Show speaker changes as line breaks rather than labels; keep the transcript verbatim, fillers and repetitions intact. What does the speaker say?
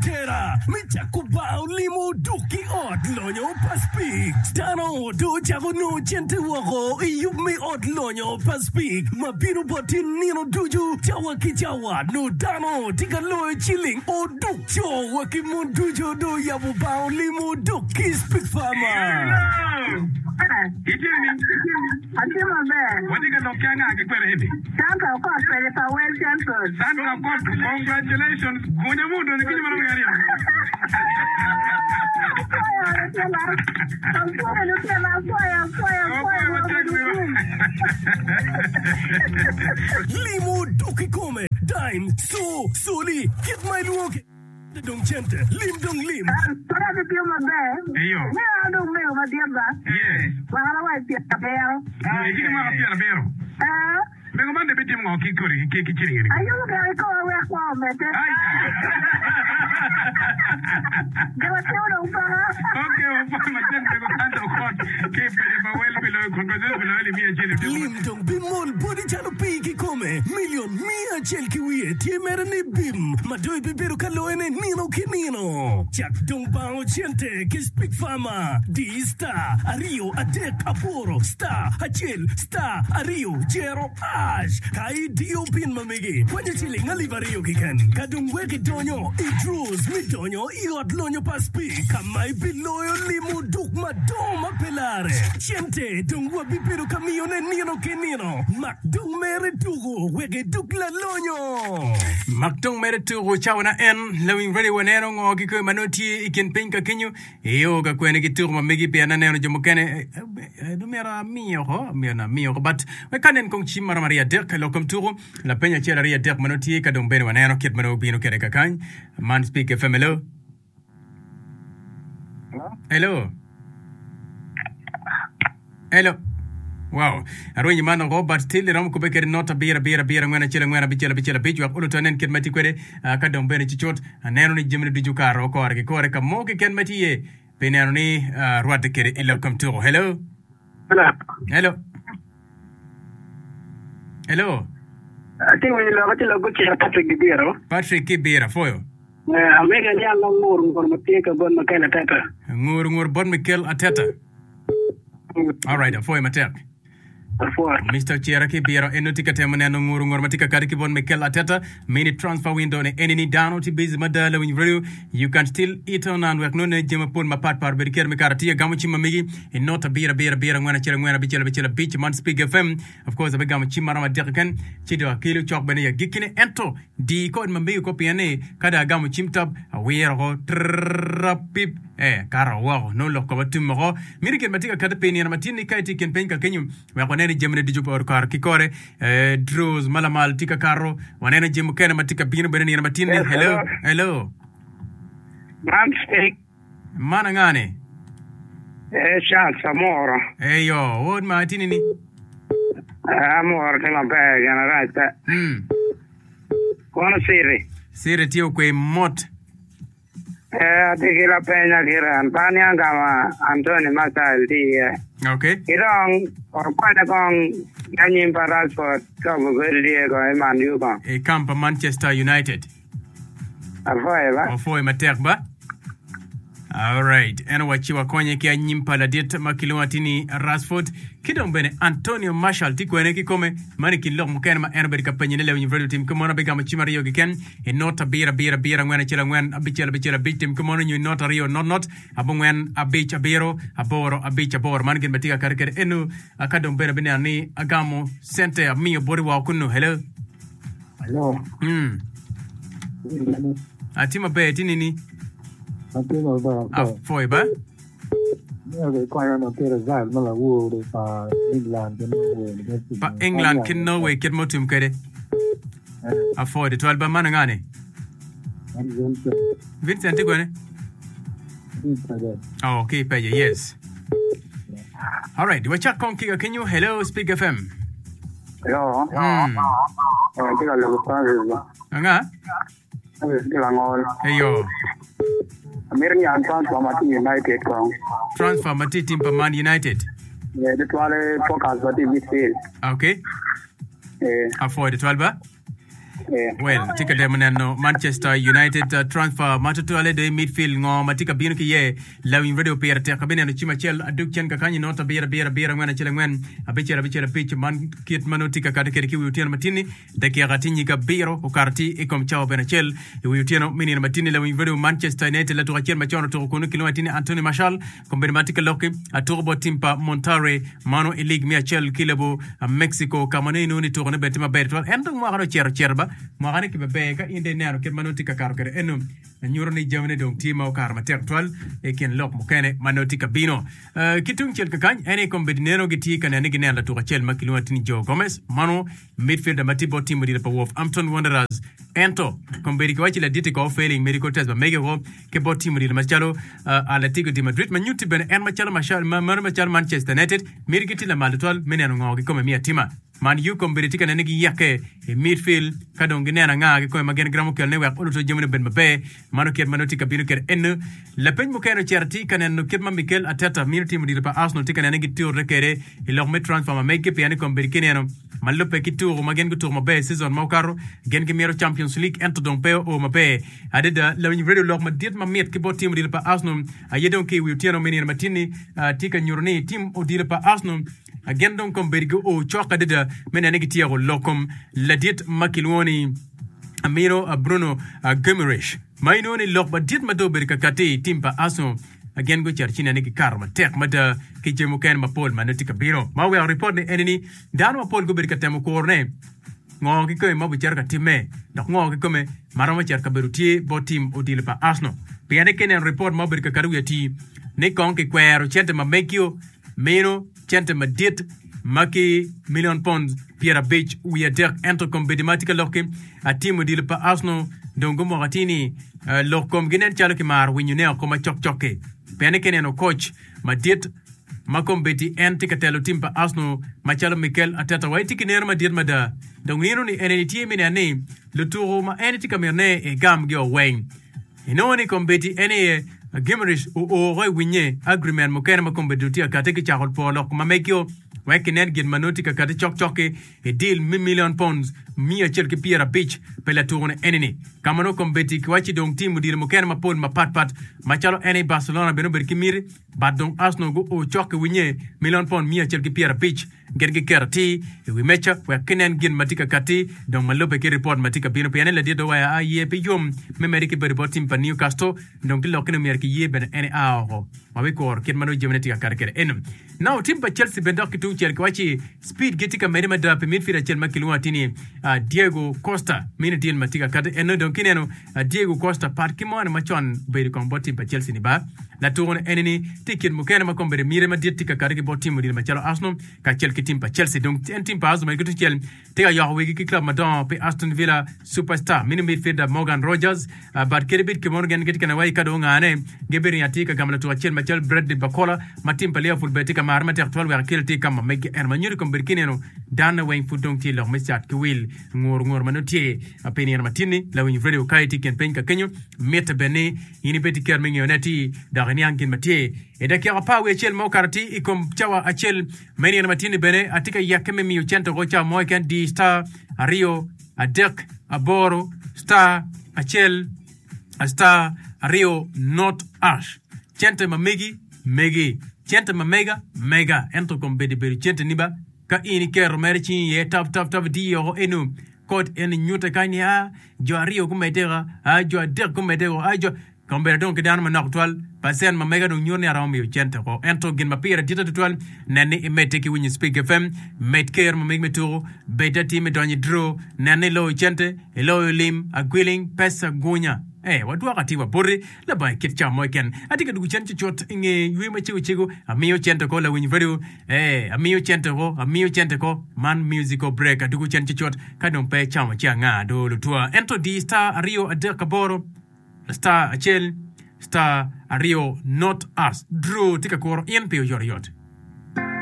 atera me cako bao limo duk ki ot lonyo pa Speke. Dano do ocako nongo cente woko i yub me ot lonyo pa Speke ma bino boti nino ducu cawa ki cawa nongo dano tye ka loyo ciling oduk co wa ki mon ducu do oyabo bao limo duk ki Speke Farmer.
Itye ni?
Atye maber.
Watye ka lok ki anga ki kwene eni?
Sandra Okot pede pa Well Central.
Sandra Okot, congratulations. Gunya mo odonyo kinyo maromo aryo.
Apwoyo lutela. Apwoyo lutela, apwoyo, apwoyo, apwoyo.
Apwoyo matek wiro.
Limo duk kikome, dime, co, soli, kit ma ilwongo ki dong cente, lim dong lim.
Kore gitye maber.
Eyo.
Me an dong mego madit ba.
Yes.
Mwaka na wa i pyerabiro.
Itye ki mwaka pyerabiro.
Eh.
Mego man dong bitimo ngo ki kodi ki ki ciling eni?
Ayubo gire kikome wek kwo omedde.
Ai.
Gin atimo dong paka.
Okay, wapwoyo matek mego Sandra Okot ki i paco pa Well pi loyo congratulations pi loyo alip miya acel i odiko
Lim
matek.
dong bimol boti calo pii kikome. Milion miya acel ki wiye tye mere ni bim ma dong ibibedo ka loyone nino ki nino. Cak dong bango cente ki Speke Farmer. Di star aryo adek aboro star acel star aryo jero hash. Ka idiyo pin ma megi, kwanyo ciling alip aryo keken. Ka dong wek idonyo i draws me donyo i ot lonyo pa Speke ka ma ibiloyo limo duk madongo ma pe lare. Cente dong wabibedo ka miyone nino ki nino. Mak dong mere tuko wek iduk lalonyo.
Mak dong mere tuko cawa na en lawiny radio waneno ngo ki kwe ma nongo tye i kin piny ka kenyo iyo ka kwene ki tuko ma megi pien aneno jo mukene eh, eh, eh, myero amiyo oko myero amiyo oko but wek anen kong cim maromo aryo adek lok kom tuko lapeny acel aryo adek ma nongo tye ka dong bene waneno kit ma nongo bino kwede kakany man Speke F M hello hello hello Wow. Arwenyo man oko, but still iromo kubbe kede not abiro abiro abiro angwen acel angwen abicel abicel abic wek oluto anen kit ma tye kwede. Ah, ka dong bene cucut aneno ni jamine ducu okato kore ki kore ka mo keken ma tye iye pi neno ni ah, rwatte kede i lok kom tuko. Hello.
Hello.
Hello. Hello.
Atye winyo lok atye lok gucito Patrick Gibiro.
Patrick Kibira afoyo.
Eh, amega ni an ngur ngur ma tye ka bot Mikel Ateta.
Ngur ngur bot Mikel Ateta. All right, afoyo matek.
Afoyo.
Mister Ocera ki biro en nongo tye ka temo neno nguru nguru ma tye ka kati ki bot Mikel Ateta. Mini transfer window ni eni ni dano tye busy mada lawiny radio. You can still eat on and wek nongo ne jami mapol mapat pat obed kere me kare tye gamo cim ma megi i not abiro abiro abiro angwen acel angwen abicel abicel abic man Speke F M. Of course abigamo cim maromo adek keken ci dong akelo cok bene i agikkine ento di kod ma megi ko pien ni ka dong agamo cim top awiro ko trrrrap pip eh kato woko nongo lok koba tum woko miti gin ma tye ka kati pi nino ma tye ni ka itye i kin piny ka kenyo wek wanen ni jamine ducu okato ki kore eh, draws ma lamal tye ka kato waneno jami mukene ma tye ka bino bene nino ma tye ni
Yes,
hello
hello.
hello
Man Speke.
Man anga-ni?
Eh, Charles Amoro.
Eyo, wod ma atini ni.
Eh, Amoro tye maber, gin arac pe.
Mm.
Kono Siri.
Siri tye okwe mot.
Eh, atye ki lapeny akiran. Pe aniang ka ma Anthony Martial tye iye.
Okay.
Ki dong, okwanya kong ki anyim pa Rashford ka obedo tye kong i Man U kong.
I camp pa Manchester United.
Apwoyo ba.
Wapwoyo matek ba. Alright, en owacci wakonye ki anyim pa ladit ma kilwongo atir ni Rashford ki dong bene Antonio Martial tye kwene kikome. Man i kin lok mukene ma en obedo ka penye ni Lewiny Radio tim kimono abigamo cim aryo keken i not abiro abiro abiro angwen acel angwen abicel abicel abic tim kimono nyo i not aryo not not abongwen abic abiro aboro abic aboro. Man gin ma tye ka kati kwede eno ka dong bene abineno ni agamo cente amiyo boti woko kunu. Hello.
Hello.
Mm. Atye maber, itye nini?
Atye maber.
Apwoyo ba.
Myero ikonya ma ki result ma lawor pa England ki Norway.
Pa England ki Norway kit ma otum kwede. Apwoyo tutwal ba man anga ni?
Vincent.
Vincent tye kwene? Oh, ki peje, yes. All right, wacak kong ki kakenyo. Hello, Speak F M.
Hello.
Mm.
Eh, tye ka lubo Francis.
Anga?
Francis tye langol.
Eyo.
Amito niang transfer ma tye United kong.
Transfer ma tye team pa Man United.
Eh, tutwale focus ma tye midfield.
Okay.
Eh.
Apwoyo tutwal ba. Well, tye ka temo neno Manchester United uh, transfer ma tutwale do i midfield ngo ma tye ka bino ki iye lawiny radio pire tek abineno cim acel aduk cen kakanyi not abiro abiro abiro angwen acel angwen abicel abicel abic man kit ma nongo tye ka kati kwede ki wi otyeno matinni dakika tye nyig abiro okato tye i kom cawa bene acel i wi otyeno me nino matinni lawiny radio Manchester United latuko acel macon otuko kunu kilwongo atir ni Anthony Martial kombeddi ma tye ka lokki atuko bot tim pa Monterrey mano i lig me acel ki lobo Mexico ka ma nongo inongo ni tukone bene tye maber tutwal en dong mwakane ocito ocito ba mwakane ki maber ka in dong ineno kit ma nongo tye ka kato kwede eno nyuto ni jamine dong tye ma okato matek tutwal i kin lok mukene ma nongo tye ka bino. Eh, ki tungcel kakany en aye kombeddi neno gitye ka neno ni gineno latuko acel ma kilwongo atir ni Joe Gomez mano midfielder ma tye bot tim odilo pa Wolverhampton Wanderers ento kombeddi kiwaco laditi ko failing medical test ba mege ko ki bot tim odilo macalo uh, Atletico de Madrid ma nyutti bene en macalo Martial ma mano macalo Manchester United miti gitye lamal tutwal me neno ngo kikome me atima Man U kombeddi tye ka nene giyekke i midfield ka dong gineno anga kikome ma gin giromo kelone wek oluto jamine obed maber. Mano kit ma nongo tye ka bino kwede eno. Lapeny mukene ocito tye ka neno kit ma Mikel Arteta mito timo odilo pa Arsenal tye ka nene giturre kwede i lok me transfer ma meggi pien ni kombeddi kineno ma lubbe ki tuko ma gin gutuko maber i season ma okato gin gimito Champions League ento dong pe oo maber adada. Lawiny radio lok madit mamit ki bot tim odilo pa Arsenal aye dong ki i wi otyeno me nino matin-ni tye ka nyuto ni tim odilo pa Arsenal Gin dong kombeddi guo cok adada me neno ni gityeko lok kom ladit ma kilwongo ni Amiro Bruno Guimaraes ma inongo ni lok madit ma dong obedo ka kati i tim pa Arsenal. Gin gucito ci neno ni gikato matek mada ki jami mukene mapol ma nongo tye ka bino. Ma oweko ripot ni eni ni dano mapol gubedo ka temo kurone ngo kikome ma obicito ka timme dok ngo kikome ma romo cito ka bedo tye bot tim odilo pa Arsenal. Pien ni ka ineno ripot ma obedo ka kati wi atir ni kong kikwero cente ma megio meno cente madit ma ki milion pond pyerabic wiye adek ento kombeddi ma atye ka lok-ki atim odilo pa Arsenal dong gumoko atir ni lok komgi nen calo kimaro winyone oko ma cokcok-ki pien ni ka ineno koc madit ma kombeddi en tye ka telo tim pa Arsenal macalo Mikel Arteta wa etye ki neno madit mada dong nino ni eni tye me neno ni lutuku ma en tye ka mito ne egamgi oweng. Inongo ni kombeddi en aye Gimerich oo oko i winye agreement mukene ma kombeddi tye akati ki cako pwo lok ma megio wek kinen gin ma nongo tye ka kati cokcok-ki i deal me million pounds miya acel ki pyera abic pi latuko-ni eni-ni. Ka ma nongo kombeddi kiwacci dong tim odilo mukene mapol mapat pat macalo en aye Barcelona bene obedo ki miti but dong Arsenal guo cok ki winye million pound miya acel ki pyera abic Gin giketo atir i wi meja wek ginen gin ma tye ka katti dong ma lubbe ki ripot ma tye ka bino pien ni ladit oweyo aye pe yom me medde ki bedo bot tim pa Newcastle dong ki lokke ni myero kiye bene en ea oko. Wabikuro kit ma nongo jamine tye ka kati kwede eno. Now tim pa Chelsea bene dok ki tungcel kiwacci speed gi tye ka medde mada pi midfield acel ma kilwongo atir ni Diego Costa mini deal ma tye ka kati eno dong kineno Diego Costa pat ki moni macon obedo kong bot tim pa Chelsea ni ba. Latuko-ni eni-ni tye i kin mukene ma kombeddi miti madit tye ka kati ki bot tim odilo macalo Arsenal kacel ki tim pa Chelsea. Dong en tim pa Arsenal mere ki tungcel tye ka yoko wigi ki club madongo pi Aston Villa superstar mini midfielder Morgan Rogers. But kadi bed kimono gin gitye ka neno wai ka dong ongane gibiringo atir ka gamo latuko acel macalo Bradley Barcola ma tim pa Liverpool bene tye ka mare matek twal wek akel atir ka ma megi eno ma nyuto kombeddi ki neno dano weng pud dong tye i lok me cat ki wil ngur ngur ma nongo tye pi nino matin-ni. Lawiny radio ka itye i kin piny ka kenyo mitte bene ni In ibed ki kero me ngeyone atir dok iniang gin ma tye. I dakika apar wiye acel ma okato atir i kom cawa acel me nino matin-ni bene, atye ka yeke me miyo cente woko cawa mo keken di star aryo adek aboro star acel star aryo not ash. Cente ma megi, megi. Cente ma mega, mega. Ento kombeddi bedo centeni ba. Ka in iketo mere cingi iye tap tap tap idiyo woko eno. Kot eni nyute kany ni a jo aryo gumedde ka, a jo adek gumedde ko, a jo. Kombeddi adong ki dano manok twal, pacent ma mega dong nyuto ni aromo miyo cente oko. Ento gin ma pire dit tutwal, nen ni imedde ki winyo Spik F M, med ker ma megi me tuku, bed atir me donyo i draw, nen ni iloyo cente, iloyo lim, agwiling, pesa, gunya. Ee, wadwoko atir wa boti labongo i kit cawa mo keken. Atye ka dwogo cen cucut i nge yweyo macego cego, amiyo cente oko lawiny radio. Ee, amiyo cente oko, amiyo cente oko. Man musical break, adwogo cen cucut ka dong pe icamo ci anga do lutwa. Ento di star aryo adek aboro star acel star aryo not us. Draw tye ka kuro in pi oyotoyot.